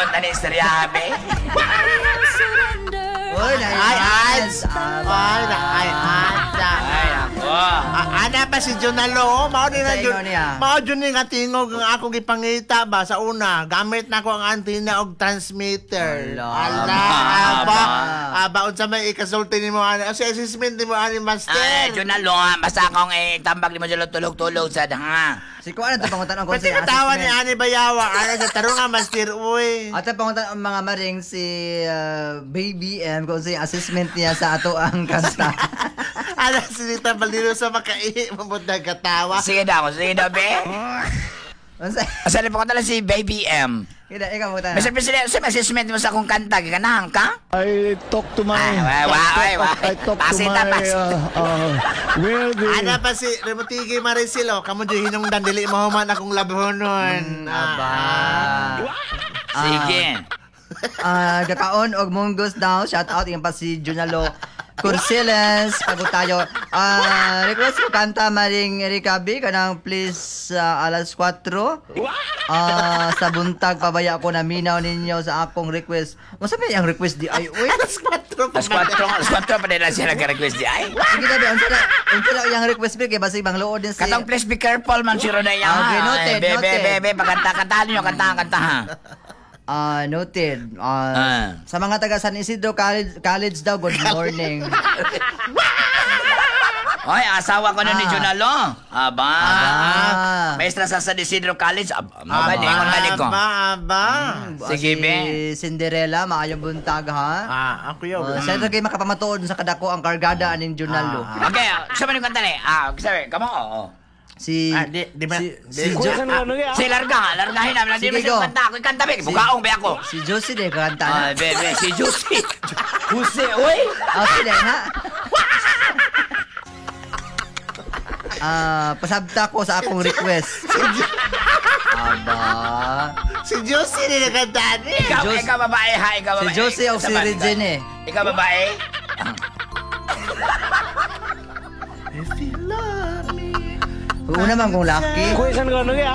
Unta ni istorya, be. Uy, Ay, ads! Ay, na, ay, ads! Ay, ako. Ah, ana pa si Junalo, oh. Mao din na Sa jud. inyo niya. Mao jud ni nga tingog ang akong gipangita ba sa una. Gamit na ko ang antenna og transmitter. Ala. Ala, aba. Aba unsa may ikasulti nimo ani? Si assessment nimo ani, master. Ay, Junalo, ha. Basta akong eh, tambag ni mo dyan tulog-tulog sa ha. Si kuan na pangutan ang Pati katawa ni ani Bayawa, ana sa tarong nga master uy. Ato pangutan ang mga maring si Baby M kung sa assessment niya sa ato ang kanta. Ana si Nita Balino sa makaihi mabot na katawa. Sige daw, sige daw, be. Unsa? Asa na po si Baby M. Kida ikaw pangutan. Mr. President, sa assessment mo sa akong kanta, ganahan ka? I talk to my Ay, wa- wa- I wa- talk, I talk to Pasita, my pasita. Where the Ana pa si Remotigi Maricel, oh. Kamo jud hinungdan dili mahuman akong labhonon. Aba. Sige. Ah, gakaon og munggos daw. Shout out yung pa si Junalo Cursiles. Pagod tayo. Ah, request ko kanta Maring Erika B kanang please alas 4. Ah, sa buntag pabaya ko na minaw ninyo sa akong request. Unsa may ang request di ay uy? Alas 4 pa. Alas 4 pa nila siya nag-request di ay. Sige na, be, unsa na iyang request be kay basig bangluod din si Katong please be careful man si Ronay. Ah, okay, noted, Be, be, noted. be, be, pagkanta, kantahan niyo, kantahan, kantahan. Ah, noted. Ah, Ah. sa mga taga San Isidro College, College daw, good morning. Oy, asawa ko na ni Ah. Junalo. Aba. Aba. Maestra sa San Isidro College. Aba, aba, ingon balik ko. Aba, aba. Sige, Si be. Cinderella, maayong buntag ha. Ah, ako yun. Uh, Siyempre kayo makapamatuod sa kadako ang kargada aning Junalo. Okay, sa man yung kanta ni? Ah, sabi, kamo, oo. Si Ah, di, di ba? si, Di, si, Jo- Si larga, largahin namin. Hindi Sige, mo siya go. kanta. Ako yung kanta, be. Bukaong, be ako. Si Josie de kanta na. Ay, be, be, si Juicy. Jose, uy. Ah, sila na. Ah, pasabta ko sa akong request. Aba. Si Josie ni nagkanta ni. Ikaw, Jos- ikaw babae ha, ikaw Si babae. Josie o si Saban, Regine eh. Ikaw babae? If you love me. Una man kung lucky. Question ko ano kaya?